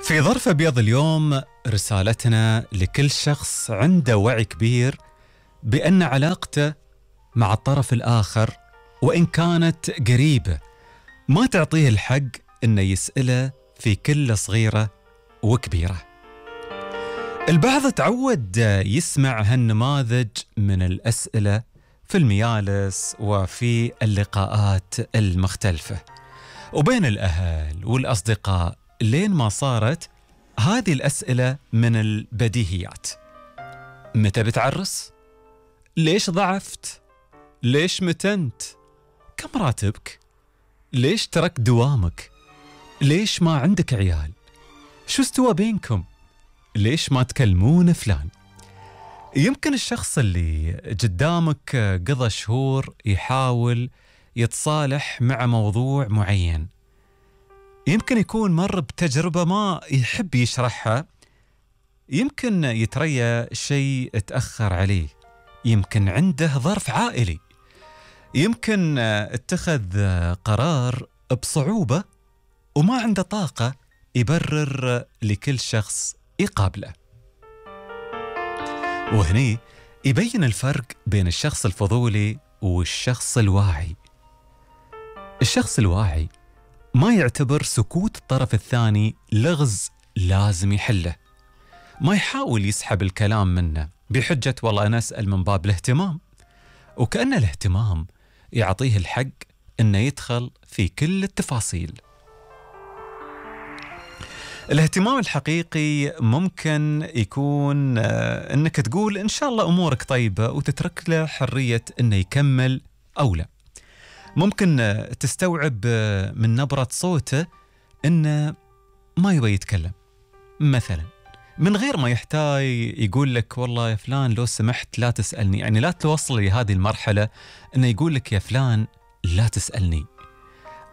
في ظرف أبيض اليوم رسالتنا لكل شخص عنده وعي كبير بأن علاقته مع الطرف الآخر وإن كانت قريبة ما تعطيه الحق أنه يسأله في كل صغيرة وكبيرة. البعض تعود يسمع هالنماذج من الأسئلة في الميالس وفي اللقاءات المختلفة وبين الأهل والأصدقاء، لين ما صارت هذه الأسئلة من البديهيات. متى بتعرس؟ ليش ضعفت؟ ليش متنت؟ كم راتبك؟ ليش تركت دوامك؟ ليش ما عندك عيال؟ شو استوى بينكم؟ ليش ما تكلمون فلان؟ يمكن الشخص اللي قدامك قضى شهور يحاول يتصالح مع موضوع معين، يمكن يكون مر بتجربة ما يحب يشرحها، يمكن يتريى شيء اتأخر عليه، يمكن عنده ظرف عائلي، يمكن اتخذ قرار بصعوبة وما عنده طاقة يبرر لكل شخص يقابله. وهني يبين الفرق بين الشخص الفضولي والشخص الواعي. الشخص الواعي ما يعتبر سكوت الطرف الثاني لغز لازم يحله، ما يحاول يسحب الكلام منه بحجة والله أنا أسأل من باب الاهتمام، وكأن الاهتمام يعطيه الحق أنه يدخل في كل التفاصيل. الاهتمام الحقيقي ممكن يكون أنك تقول إن شاء الله أمورك طيبة وتترك له حرية أنه يكمل أو لا. ممكن تستوعب من نبرة صوته أنه ما يبغى يتكلم مثلا، من غير ما يحتاج يقول لك والله يا فلان لو سمحت لا تسألني، يعني لا توصل لهذه المرحلة أنه يقول لك يا فلان لا تسألني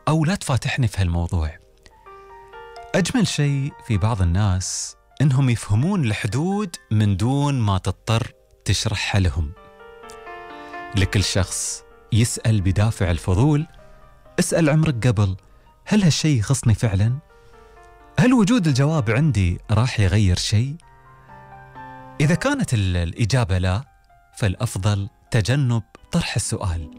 أو لا تفاتحني في هالموضوع. أجمل شيء في بعض الناس أنهم يفهمون الحدود من دون ما تضطر تشرحها لهم. لكل شخص يسأل بدافع الفضول، اسأل عمرك قبل، هل هالشيء يخصني فعلا؟ هل وجود الجواب عندي راح يغير شيء؟ إذا كانت الإجابة لا، فالأفضل تجنب طرح السؤال.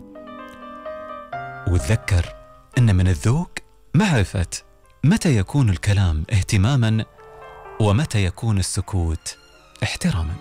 وتذكر أن من الذوق معرفة متى يكون الكلام اهتماما ومتى يكون السكوت احتراما.